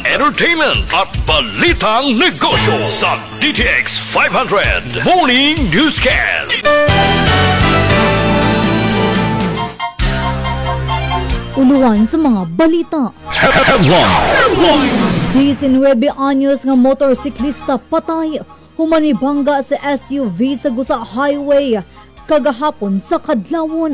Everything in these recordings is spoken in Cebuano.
Entertainment at balitang negosyo sa DTX 500 Morning Newscast. Uluhan sa mga balita. Headlines. 19 anyos nga motorsiklista patay human mibangga sa SUV sa Gusa Highway kagahapon sa Kadlawon.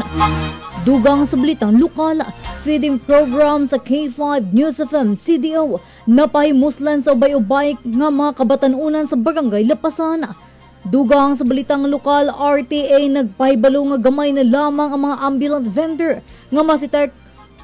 Dugang sa balitang lokal, feeding program sa K5 News FM CDO napahimuslan sa ubay-ubay nga mga kabatanunan sa Barangay Lapasan. Dugang sa balitang lokal, RTA nagpahibalo nga gamay na lamang ang mga ambulant vendor nga masitar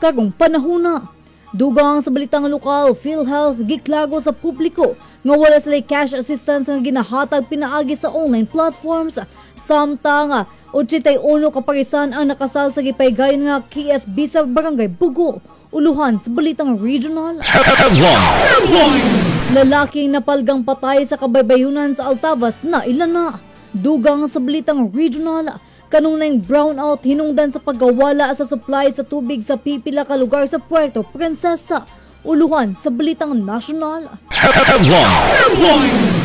karong panahona. Dugang sa balitang lokal, PhilHealth giklago sa publiko nga wala sila cash assistance nga ginahatag pinaagi sa online platforms. Samtang 81 kaparisan ang nakasal sa gipaygayon nga KSB sa Barangay Bugo. Uluhan sa balitang regional. Headlines. Lalaking napalgang patay sa kabaybayunan sa Altavas na ilan na. Dugang sa balitang regional, kanunay brownout hinungdan sa pagkawala sa supply sa tubig sa pipila ka lugar sa Puerto Princesa. Uluhan sa balitang national. Headlines.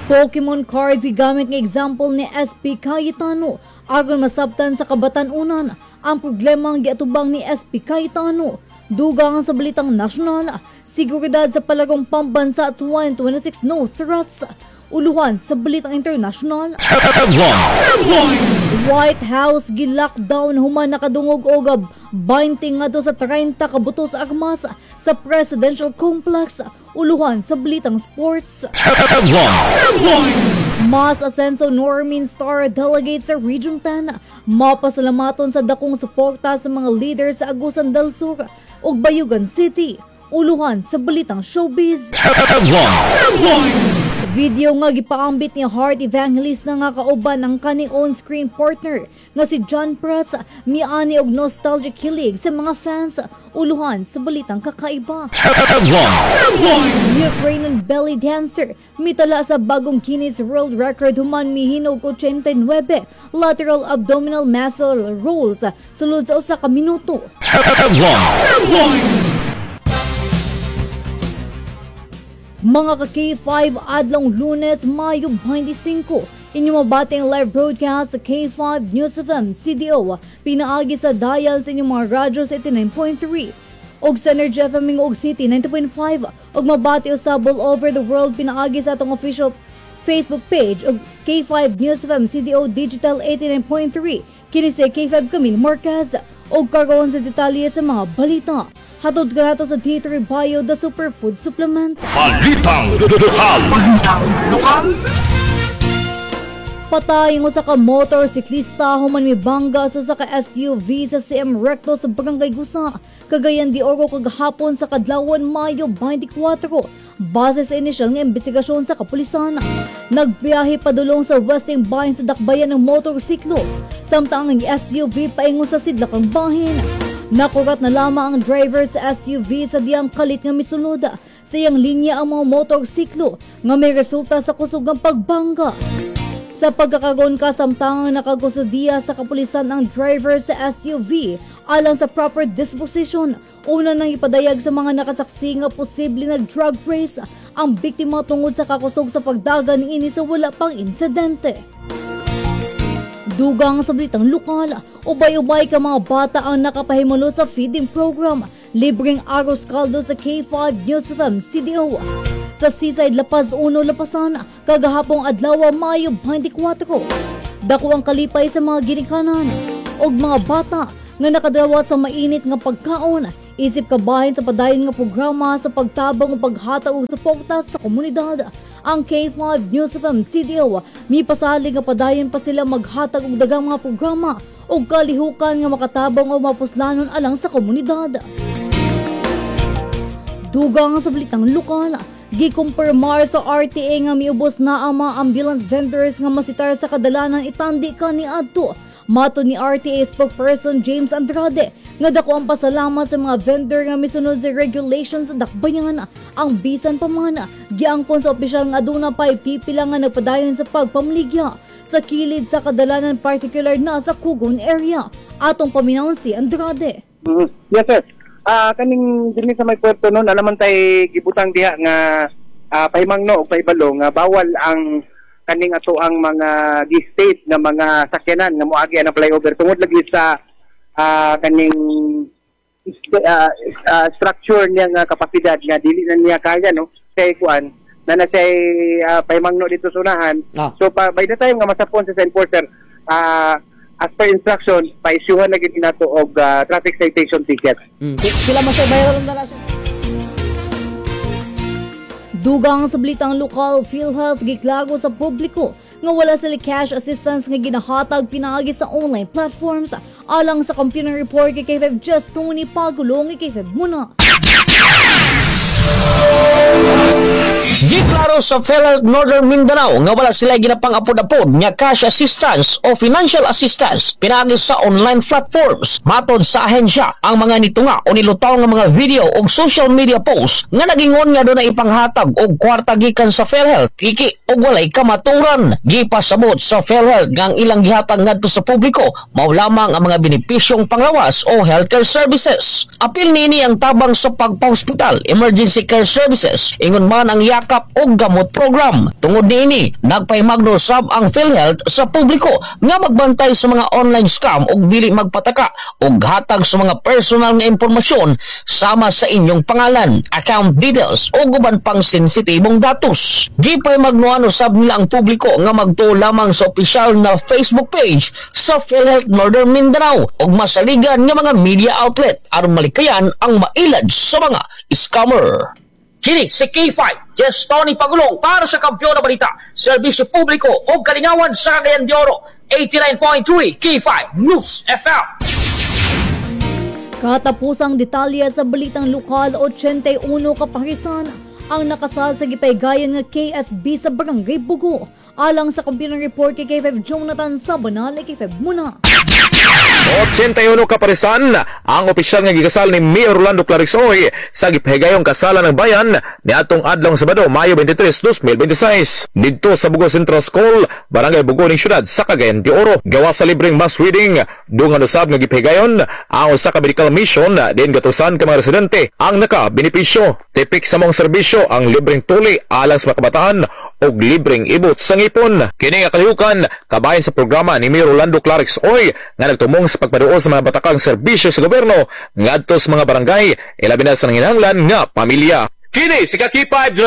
Pokemon cards gigamit nga example ni SP Cayetano aron masabtan sa kabatanunan ang problema ang giatubang ni SP Cayetano. Dugang sa balitang national, seguridad sa palagong pambansa 2026, no threats. Uluhan sa balitang international. Headlines. White House gi-lockdown human nakadungog og binding ngadto sa 30 ka butos armas sa presidential complex. Uluhan sa balitang sports. Headlines. Mas Asenso Normin Star Delegate sa Region 10 mapasalamaton sa dakong suporta sa mga leader sa Agusan del Sur ug Bayugan City. Uluhan sa balitang showbiz. Headlines. Video nga gipaambit ni Heart Evangelist na nga kauban ang kaning on-screen partner nga si John Prats miani og nostalgic kilig sa mga fans. Uluhan sa balitang kakaiba. Headlines. Ukrainian belly dancer mitala sa bagong Guinness World Record human mihinog 89 lateral abdominal muscle rolls sulod sa usa ka minuto. Headlines. Mga ka K5, adlong Lunes, Mayo 25. Inyo mabati ang live broadcast sa K5 News FM CDO pinaagi sa dial sa inyong mga radyo sa 89.3 og sa Energy FM Gingoog City 90.5 ug mabati usab all over the world pinaagi sa atong official Facebook page og K5 News FM CDO Digital 89.3. Kini si K5 Camille Marquez og karon sa detalye sa mga balita. Hatod ka nato sa D3 Bio, the Superfood Supplement. Balitang Lokal. Patay ang usa ka motorsiklista human mibangga sa usa ka SUV sa CM Recto sa Barangay Gusa, Cagayan de Oro kagahapon sa kadlawon, Mayo 24. Base sa inisyal nga investigasyon sa kapulisan, nagbiyahe padulong sa westing bahin sa dakbayan ng motorsiklo, samtang ang SUV paingon sa sidlakang bahin. Nakurat na lamang ang driver sa SUV sa diyang kalit nga misulod sa iyang linya ang mga motorsiklo nga may resulta sa kusog ng pagbangga. Sa pagkakaroon, kasamtangang nakakustudiya sa kapulisan ang driver sa SUV alang sa proper disposition. Una nang ipadayag sa mga nakasaksi nga posible nag-drug race ang biktima tungod sa kakusog sa pagdagan niini sa wala pang insidente. Dugang sa balitang lokal, ubay-ubay ka mga bata ang nakapahimulo sa feeding program. Libreng arroz caldo sa K5 News FM CDO sa Seaside La Paz 1 Lapasan kagahapong adlaw, Mayo 24. Dako ang kalipay sa mga ginikanan ug mga bata nga nakadawat sa mainit nga pagkaon. Isip kabahin sa padayon nga programa sa pagtabang ug paghatag og suporta sa komunidad. Ang K5 News FM CDO mipasalig nga padayon pa sila maghatag og daghang mga programa ug kalihukan nga makatabang o mapuslanon alang sa komunidad. Dugang sa balitang lokal, gikumpirmar sa RTA nga miubos na ang mga ambulant vendors nga masitar sa kadalanan itandi kaniadto. Matod ni RTA spokesperson James Andrade, nga dako ang pasalamat sa mga vendor nga misunod sa regulations sa dakbayan. Ang bisan pa man, giangkon sa opisyal nga aduna pa'y pipila nga nagpadayon sa pagpamaligya sa kilid sa kadalanan, particular na sa Kugon area. Atong paminawon si Andrade. Yes, sir. Kaning dinhi sa may puerto, no, naa naman tay gibutang diha nga pahimangno o pahibalo nga bawal ang kaning ato ang mga gi-state nga mga sakyanan nga moagi ang flyover tungod lagi sa kaning structure niya nga kapasidad nga dili na niya kaya, no, kay kuan na na siya pahimangno dito sa unahan. So pa, by the time nga masapon sa enforcer, as per instruction, pa-issuehan na gid nato og traffic citation ticket. Sila man sa bayaran na sir. Dugang sa balitang lokal, PhilHealth giklaro sa publiko nga wala sila cash assistance nga ginahatag pinaagi sa online platforms, alang sa computer report kay K5 Just Tony Pagulong, K5 muna. Giklaro sa PhilHealth Northern Mindanao nga wala sila ginapang-apod-apod nga cash assistance o financial assistance pinaagi sa online platforms. Matod sa ahensya, ang mga nitunga o nilutaw nga mga video o social media posts nga nagingon nga dunay ipanghatag og kwarta gikan sa PhilHealth, piki og walay kamaturan. Gipasabot sa PhilHealth nga ang ilang gihatag ngadto sa publiko mao lamang ang mga benepisyong panglawas o healthcare services. Apil niini ang tabang sa pagpahospital, emergency care services, ingon man ang yakap og gamot program. Tungod niini, nagpahimangno sab ang PhilHealth sa publiko nga magbantay sa mga online scam ug dili magpataka og hatag sa mga personal nga impormasyon sama sa inyong pangalan, account details o uban pang sensitibong datos. Gipahimangnoan usab nila ang publiko nga magtuo lamang sa opisyal na Facebook page sa PhilHealth Northern Mindanao ug masaligan nga mga media outlet aron malikayan ang mailad sa mga scammer. Kini si K5, Jess Tony Pagulong para sa Kampiyon na Balita, Serbisyo Publiko o Kalingawan sa Cagayan de Oro, 89.3 K5 News FM. Katapusang detalye sa balitang lokal, 81 kaparisan ang nakasal sa gipaygayon nga KSB sa Barangay Bugo. Alang sa computer report kay K5 Jonathan Sabanal, K5 muna. 81 kaparisan ang opisyal nga gikasal ni Mayor Rolando Klarex Uy sa gipahigayong kasalan ng bayan niadtong adlong Sabado, Mayo 23, 2026, didto sa Bugo Central School, Barangay Bugo ning syudad sa Cagayan de Oro. Gawa sa libreng mass wedding, dungan usab nga gipahigayon ang usa ka medical mission diin gatusan ka mga residente ang nakabenepisyo. Tipik sa maong serbisyo ang libreng tuli alang sa mga kabataan ug libreng ibot sa ngipon. Kini nga kalihukan kabahin sa programa ni Mayor Rolando Klarex Uy nga nagtumong sa pagpaduol sa mga batakang serbisyo sa gobyerno ngadto sa mga barangay, ilabi na sa nanginahanglan nga pamilya. Kini si Ka K5.